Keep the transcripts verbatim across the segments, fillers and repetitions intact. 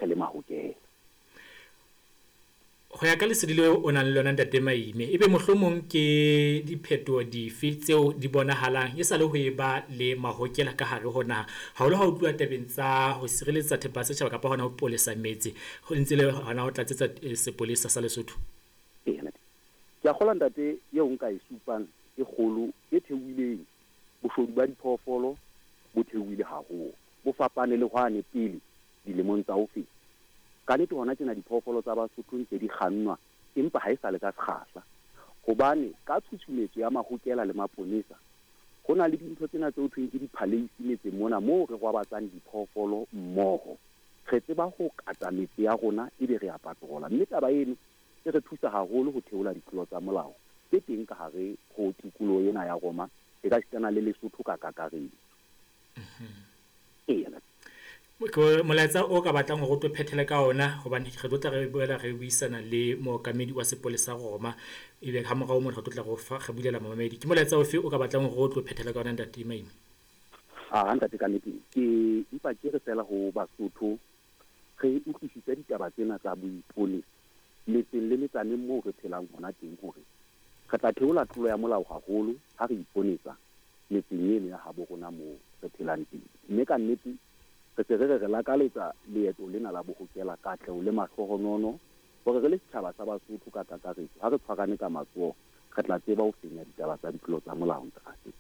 le mahokela. Ho ya ka lesedi leo o nang le lona, Ntate Maime, ebe mohlomong ke diphetoho dife tseo di bonahalang e sa le ho e ba le mahokela ka hare ho naha, haholo ha ho tluwa tabeng tsa ho sireletsa thepa ya setjhaba kapa hona ho polesa metse, ho ntse le hona ho tlatsetsa sepolesa sa Lesotho? Eya, ke a kgolwa, ntate, eo nka e supang e kgolo e theohileng, boshodu ba diphoofolo bo theohile haholo, bo fapane le hwane pele dilemong tsa ho feta. Ka nnete hona tjena diphoofolo tsa Basotho ntse di kgannwa, empa ha e sa le ka sekgahla, hobane ka tshutshumetso ya mahokela le maponesa ho na le dintho tsena tse ho thweng ke di-palace metseng mona moo re rwabatsang diphoofolo mmoho. Re tseba ho kata metse ya rona ebe re a patrola, mme taba eno e re thusa haholo ho theola ditlolo tsa molao tse teng ka hare ho tikoloho ena ya Roma, e ka sitana le Lesotho ka kakaretso. Eya. Molaetsa o ka batlang hore o tlo phethele ka ona, hobane re tlo tla re boela re buisana le mookamedi wa sepolesa Roma, ebe ha morao mona re tlo tla re fa re bulela mamamedi, ke molaetsa ofe o ka batlang hore o tlo phethele ka ona, Ntate Maime? Ah, ntate, ka nnete ke empa ke re fela ho Basotho re utlwisise ditaba tsena tsa boiponesa metseng le metsaneng moo re phelang hona teng, hore re tla theola tlolo ya molao haholo ha re iponesa metseng eno ya habo rona moo re phelang teng. Mme ka nnete re se re re re lakaletsa leeto lena la bohokela katleho le mahlohonono, hore re le setjhaba sa Basotho ka kakaretso ha re tshwarane ka matsoho re tla tseba ho fenya ditaba tsa ditlolo tsa molao, ntate.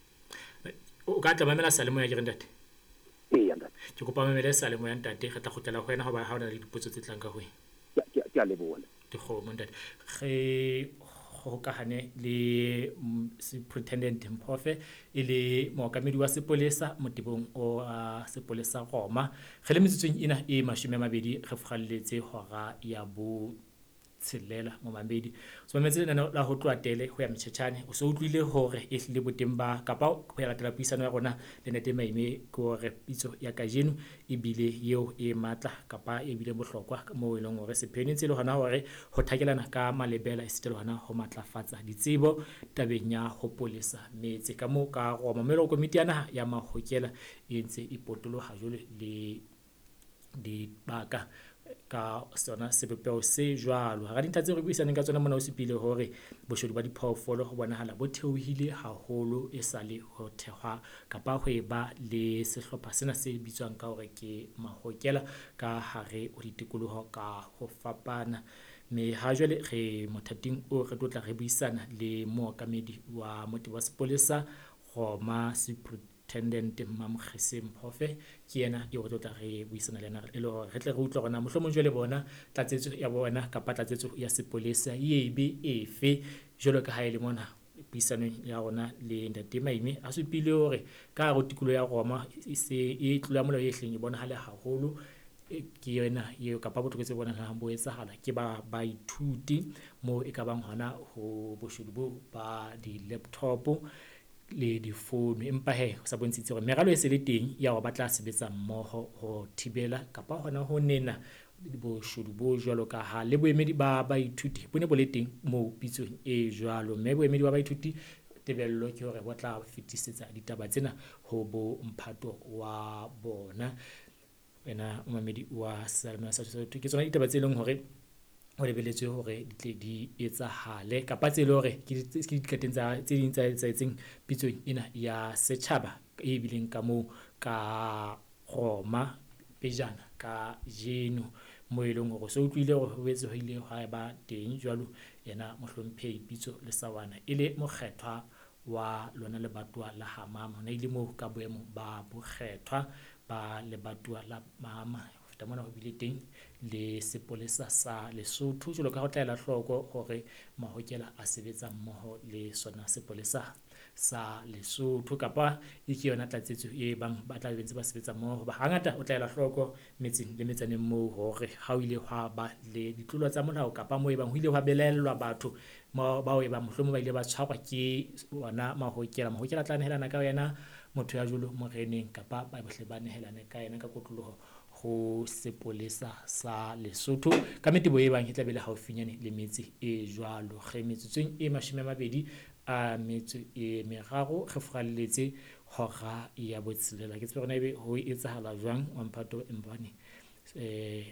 O ka tla mamela seyalemoya ke re, ntate? Eya, ntate. Ke kopa mamele seyalemoya, ntate, re tla kgutlela ho wena hoba ha o na le dipotso tse tlang ka ho wena. Ke a leboha. Dikgomo, ntate. Re hokahane le Superintendent Mphofe e le mookamedi wa sepolesa motebong o sepolesa Roma. Re le metsotsong ena e mashome a mabedi re furalletse hora ya bo tshelela momamedi. So mametse lenaneo la ho tloha tele ho ya motjhetjhane, o so utlwile hore e hlile boteng ba kapa ho ya latela puisano ya rona le Ntate Maime ke hore pitso ya kajeno ebile eo e matla kapa e bile bohlokwa moo e leng hore sepheo ne ntse le hona hore ho thakelana ka malebela esita le hona ho matlafatsa ditsebo tabeng ya ho polesa metse ka moo ka Roma. Mme le komiti ya naha ya mahokela e ntse e potoloha jwale le dibaka ka sona sebopeho se jwalo. Hara dintlha tseo re buisaneng ka tsona mona o supile hore boshodu ba diphoofolo ho bonahala bo theohile haholo e sale ho thehwa kapa ho eba le sehlopha sena se bitswang ka hore ke mahokela ka hare ho ditikoloho ka ho fapana. Mme ha jwale re mothating o re tlo tla re buisana le mookamedi wa motebo wa sepolesa Roma, Superintendent Mamokgese Mphofe, ke yena eo re tlo tla re buisana le yena e le hore re tle re utlwe hore na mohlomong jwale bona tlatsetso ya bona kapa tlatsetso ya sepolesa e be efe, jwalo ka ha e le mona puisanong ya rona le Ntate Maime a supile hore ka hare ho tikoloho ya Roma e se e tlolo ya molao e hleng e bonahale haholo ke yona eo kapa botlokotsebe bo bonahalang bo etsahala ke ba baithuti moo e kabang hona ho boshodu bo ba di-laptop le difounu. Empa he ho sa bontshitse hore meralo e se le teng ya hore ba tla sebetsa mmoho ho thibela kapa hona ho nena boshodu bo jwalo ka ha le boemedi ba baithuti bo ne bo le teng moo pitsong e jwalo. Mme boemedi ba baithuti tebello ke hore bo tla fetisetsa ditaba tsena ho bo mphato wa bona. Wena momamedi wa seyalemoya sa Sesotho, ke tsona ditaba tse leng hore ho lebelletswe hore di tle di etsahale kapa tse leng hore ke diqeteng tsa tse ding tsa etsahetseng pitsong ena ya setjhaba e bileng ka moo ka Roma pejana kajeno, moo e leng hore o so utlwile hore ho boetse ho ile hwa ba teng jwalo yena mohlomphehi Pitso Lesawana e le mokgethwa wa lona lebatowa la Hamama. Ona ile moo ka boemo ba bokgethwa ba lebatowa la Mama. Ho feta mona ho bile teng le sepolesa sa Lesotho jwalo ka ho tla ela hloko hore mahokela a sebetsa mmoho le sona sepolesa sa Lesotho kapa e ke yona tlatsetso e bang ba tla be ntse ba sebetsa mmoho. Hoba hangata o tla ela hloko metseng le metsaneng moo hore ha o ile hwa ba le ditlolo tsa molao kapa moo e bang ho ile hwa belaellwa batho bao e bang mohlomong ba ile ba tshwarwa ke ona mahokela. Mahokela a tla nehelana ka yena motho ya jwalo moreneng kapa ba bohle ba nehelane ka yena ka kotloloho ho sepolesa sa Lesotho ka metebo e bang e tla be le haufinyane le metse e jwalo. Re metsotsong e mashome a mabedi a metso e meraro re furalletse hora ya botshelela. Ke tsebe hore na ebe ho etsahala jwang wa mphato Mbane eh